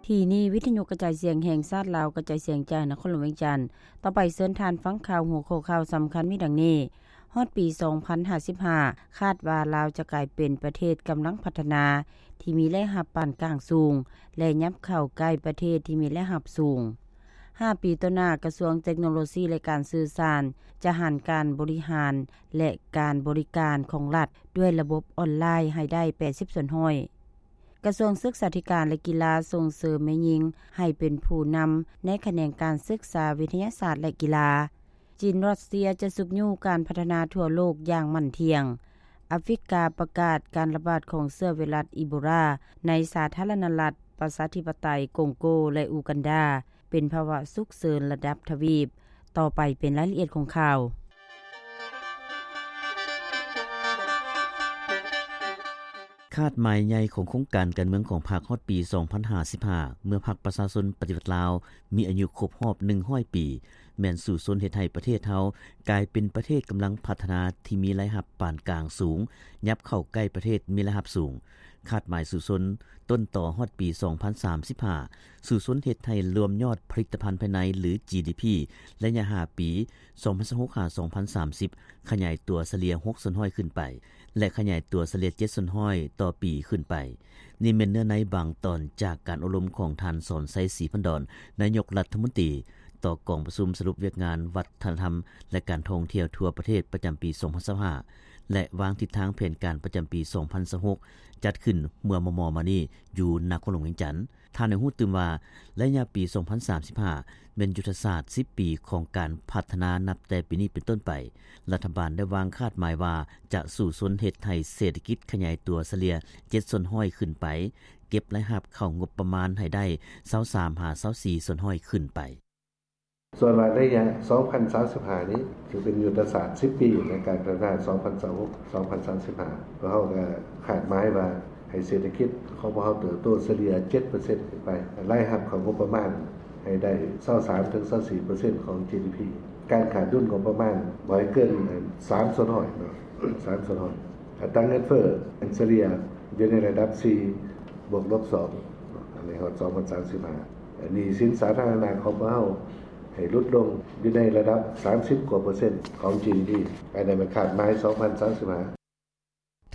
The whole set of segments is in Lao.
ທີ່ນີ້ ວິທະຍຸກະຈາຍສຽງແຫ່ງຊາດລາວ ກະຈາຍສຽງຈາກນະຄອນຫຼວງວຽງຈັນ. ຕໍ່ໄປເຊີນທ່ານຟັງຂ່າວ ຫົວຂໍ້ຂ່າວສຳຄັນມີດັ່ງນີ້: ຮອດປີສອງພັນຫ້າສິບຫ້າ ຄາດວ່າລາວຈະກາຍເປັນປະເທດກຳລັງພັດທະນາ ທີ່ມີລາຍຮັບປານກາງສູງ ແລະ ຫຍັບເຂົ້າໃກ້ປະເທດທີ່ມີລາຍຮັບສູງ. ຫ້າປີຕໍ່ໜ້າ, ກະຊວງເຕັກໂນໂລຊີ ແລະ ການສື່ສານ ຈະຫັນການບໍລິຫານ ແລະ ການບໍລິການຂອງລັດ ດ້ວຍລະບົບອອນລາຍໃຫ້ໄດ້ແປດສິບສ່ວນຮ້ອຍ. ກະຊວງສຶກສາທິການ ແລະ ກິລາ ສົ່ງເສີມແມ່ຍິງໃຫ້ເປັນຜູ້ນຳໃນຂະແໜງການສຶກສາວິທະຍາສາດ ແລະ ກິລາ. ຈີນ-ຣັດເຊຍ ຈະຊຸກຍູ້ການພັດທະນາທົ່ວໂລກຢ່າງໝັ້ນທ່ຽງ. ອາຟຣິກາປະກາດການລະບາດຂອງເຊື້ອໄວຣັສອີໂບລາໃນສາທາລະນະລັດປະຊາທິປະໄຕກົງໂກ ແລະ ອູກັນດາ ເປັນພາວະສຸກເສີນລະດັບທະວີບ. ຕໍ່ໄປເປັນລາຍລະອຽດຂອງຂ່າວ. ຄາດໝາຍໃຫຍ່ຂອງໂຄງການການເມືອງຂອງພັກຮອດປີສອງພັນຫ້າສິບຫ້າ ເມື່ອພັກປະຊາຊົນປະຕິວັດລາວມີອາຍຸຄົບຮອບໜຶ່ງຮ້ອຍປີ ແມ່ນສູ້ຊົນເຮັດໃຫ້ປະເທດເຮົາກາຍເປັນປະເທດກຳລັງພັດທະນາທີ່ມີລາຍຮັບປານກາງສູງ ຫຍັບເຂົ້າໃກ້ປະເທດມີລາຍຮັບສູງ. ຄາດໝາຍສູ້ຊົນຕົ້ນຕໍຮອດປີສອງພັນສາມສິບຫ້າ ສູ້ຊົນເຮັດໃຫ້ລວມຍອດຜະລິດຕະພັນພາຍໃນ ຫຼື ຈີດີພີ ໄລຍະຫ້າປີ ສອງພັນຊາວຫົກ ຫາ ສອງພັນສາມສິບ ຂະຫຍາຍຕົວສະເລ່ຍຫົກສ່ວນຮ້ອຍຂຶ້ນໄປ ແລະ ຂະຫຍາຍຕົວສະເລ່ຍເຈັດສ່ວນຮ້ອຍຕໍ່ປີຂຶ້ນໄປ. ນີ້ແມ່ນເນື້ອໃນບາງຕອນຈາກການອົບຮົມຂອງທ່ານ ສອນໄຊ ສີພັນດອນ ນາຍົກລັດຖະມົນຕີ ຕໍ່ກອງປະຊຸມສະຫຼຸບວຽກງານວັດທະນະທຳ ແລະ ການທ່ອງທ່ຽວທົ່ວປະເທດປະຈຳປີສອງພັນຊາວຫ້າ ແລະ ວາງທິດທາງແຜນການປະຈຳປີສອງພັນຊາວຫົກ ຈັດຂຶ້ນເມື່ອມໍ່ໆມານີ້ຢູ່ນະຄອນຫຼວງວຽງຈັນ. ທ່ານໃຫ້ຮູ້ຕື່ມວ່າ ໄລຍະປີສອງພັນສາມສິບຫ້າ ແມ່ນຍຸດທະສາດສິບປີຂອງການພັດທະນານັບແຕ່ປີນີ້ເປັນຕົ້ນໄປ. ລັດຖະບານໄດ້ວາງຄາດໝາຍວ່າຈະສູ້ຊົນເຮັດໃຫ້ເສດຖະກິດຂະຫຍາຍຕົວສະເລ່ຍເຈັດສ່ວນຮ້ອຍຂຶ້ນໄປ, ເກັບລາຍຮັບເຂົ້າງົບປະມານໃຫ້ໄດ້ຊາວສາມຫາຊາວສີ່ສ່ວນຮ້ອຍຂຶ້ນໄປ. ສ່ວນວ່າໄລຍະສອງພັນສາມສິບຫ້ານີ້ ຖືເປັນຍຸດທະສາດສິບປີໃນການພັດທະນາສອງພັນຊາວຫົກ ສອງພັນສາມສິບຫ້າ ພວກເຮົາກໍຄາດໝາຍວ່າໃຫ້ເສດຖະກິດຂອງພວກເຮົາເຕີບໂຕສະເລ່ຍເຈັດເປີເຊັນຂຶ້ນໄປ, ລາຍຮັບເຂົ້າງົບປະມານໃຫ້ໄດ້ຊາວສາມເຖິງຊາວສີ່ເປີເຊັນຂອງຈີດີພີ, ການຂາດດຸນງົບປະມານບໍ່ໃຫ້ເກີນສາມສ່ວນຮ້ອຍເນາະ, ສາມສ່ວນຮ້ອຍ. ອັດຕາເງິນເຟີ້ສະເລ່ຍຢູ່ໃນລະດັບສີ່ບວກລົບສອງເນາະ, ອັນນີ້ຮອດສອງພັນສາມສິບຫ້າ. ໜີ້ສິນສາທາລະນະຂອງພວກເຮົາໃຫ້ຫຼຸດລົງຢູ່ໃນລະດັບສາມສິບກວ່າເປີເຊັນຂອງຈີດີພີ, ອັນນັ້ນແມ່ນຄາດໝາຍສອງພັນສາມສິບຫ້າ.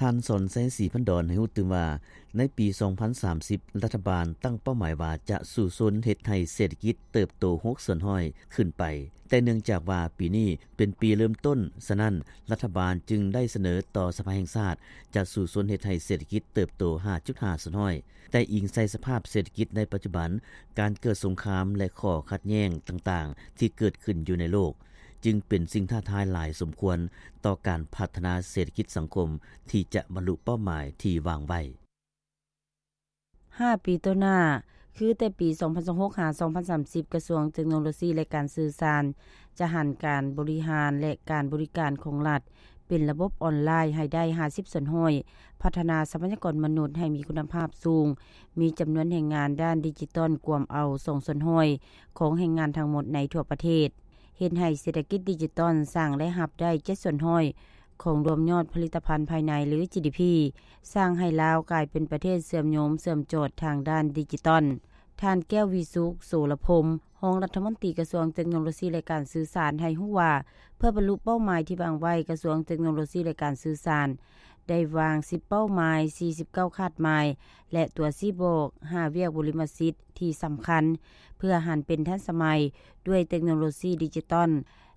ທ່ານ ສອນໄຊ ສີພັນດອນ ໃຫ້ຮູ້ຕື່ມວ່າ ໃນປີສອງພັນສາມສິບ ລັດຖະບານຕັ້ງເປົ້າໝາຍວ່າຈະສູ້ຊົນເຮັດໃຫ້ເສດຖະກິດເຕີບໂຕຫົກສ່ວນຮ້ອຍຂຶ້ນໄປ, ແຕ່ເນື່ອງຈາກວ່າປີນີ້ເປັນປີເລີ່ມຕົ້ນ, ສະນັ້ນ ລັດຖະບານຈຶ່ງໄດ້ສະເໜີຕໍ່ສະພາແຫ່ງຊາດ ຈະສູ້ຊົນເຮັດໃຫ້ເສດຖະກິດເຕີບໂຕຫ້າຈຸດຫ້າສ່ວນຮ້ອຍ. ແຕ່ອີງໃສ່ສະພາບເສດຖະກິດໃນປັດຈຸບັນ, ການເກີດສົງຄາມ ແລະ ຂໍ້ຂັດແຍ່ງຕ່າງໆທີ່ເກີດຂຶ້ນຢູ່ໃນໂລກ, ຈຶ່ງເປັນສິ່ງທ້າທາຍຫຼາຍສົມຄວນຕໍ່ການພັດທະນາເສດຖະກິດສັງຄົມທີ່ຈະບັນລຸເປົ້າໝາຍທີ່ວາງໄວ້. ຫ້າປີຕໍ່ໜ້າ, ຄືແຕ່ປີສອງພັນຊາວຫົກ ຫາ ສອງພັນສາມສິບ ກະຊວງເຕັກໂນໂລຊີ ແລະ ການສື່ສານ ຈະຫັນການບໍລິຫານ ແລະ ການບໍລິການຂອງລັດ ເປັນລະບົບອອນລາຍໃຫ້ໄດ້ຫ້າສິບສ່ວນຮ້ອຍ, ພັດທະນາຊັບພະຍາກອນມະນຸດໃຫ້ມີຄຸນນະພາບສູງ, ມີຈຳນວນແຮງງານດ້ານດິຈິຕອນກວມເອົາສອງສ່ວນຮ້ອຍຂອງແຮງງານທັງໝົດໃນທົ່ວປະເທດ, ເຮັດໃຫ້ເສດຖະກິດດິຈິຕອນສ້າງລາຍຮັບໄດ້ເຈັດສ່ວນຮ້ອຍຂອງລວມຍອດຜະລິດຕະພັນພາຍໃນ ຫຼື ຈີດີພີ, ສ້າງໃຫ້ລາວກາຍເປັນປະເທດເຊື່ອມໂຍງເຊື່ອມຈອດທາງດ້ານດິຈິຕອນ. ທ່ານ ແກ້ວວິສຸກ ໂສລະພົມ ຮອງລັດຖະມົນຕີກະຊວງເຕັກໂນໂລຊີ ແລະ ການສື່ສານ ໃຫ້ຮູ້ວ່າ ເພື່ອບັນລຸເປົ້າໝາຍທີ່ວາງໄວ້, ກະຊວງເຕັກໂນໂລຊີ ແລະ ການສື່ສານ ໄດ້ວາງສິບເປົ້າໝາຍ, ສີ່ສິບເກົ້າຄາດໝາຍ ແລະ ຕົວຊີ້ບອກ ຫ້າວຽກບຸລິມະສິດທີ່ສຳຄັນ ເພື່ອຫັນເປັນທັນສະໄໝດ້ວຍເຕັກໂນໂລຊີດິຈິຕອນ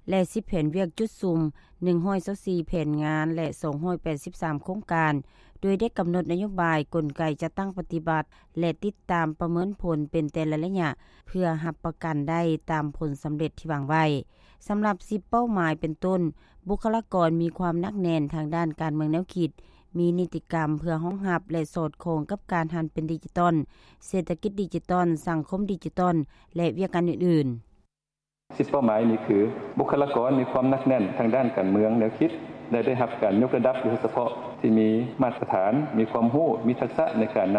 ແລະ ສິບແຜນວຽກຈຸດສຸມ, ໜຶ່ງຮ້ອຍຊາວສີ່ແຜນງານ ແລະ ສອງຮ້ອຍແປດສິບສາມໂຄງການ, ໂດຍໄດ້ກຳນົດນະໂຍບາຍ, ກົນໄກຈັດຕັ້ງປະຕິບັດ ແລະ ຕິດຕາມປະເມີນຜົນເປັນແຕ່ລະໄລຍະ ເພື່ອຮັບປະກັນໄດ້ຕາມຜົນສຳເລັດທີ່ວາງໄວ້. ສຳລັບສິບເປົ້າໝາຍເປັນຕົ້ນ, ບຸກຄະລາກອນມີຄວາມໜັກແໜ້ນທາງດ້ານການເມືອງແນວຄິດ, ມີນິຕິກຳເພື່ອຮອງຮັບ ແລະ ສອດຄ່ອງກັບການຫັນເປັນດິຈິຕອນ, ເສດຖະກິດດິຈິຕອນ, ສັງຄົມດິຈິຕອນ ແລະ ວຽກງານອື່ນໆ. ສິບເປົ້າໝາຍນີ້ຄື ບຸກຄະລາກອນມີຄວາມໜັກແໜ້ນທາງດ້ານການເມືອງແນວຄິດ ແລະ ໄດ້ຮັບການຍົກລະດັບໂດຍສະເພາະທີ່ມີມາດຕະຖານ, ມີຄວາມຮູ້, ມີທັກສະໃນການນຳ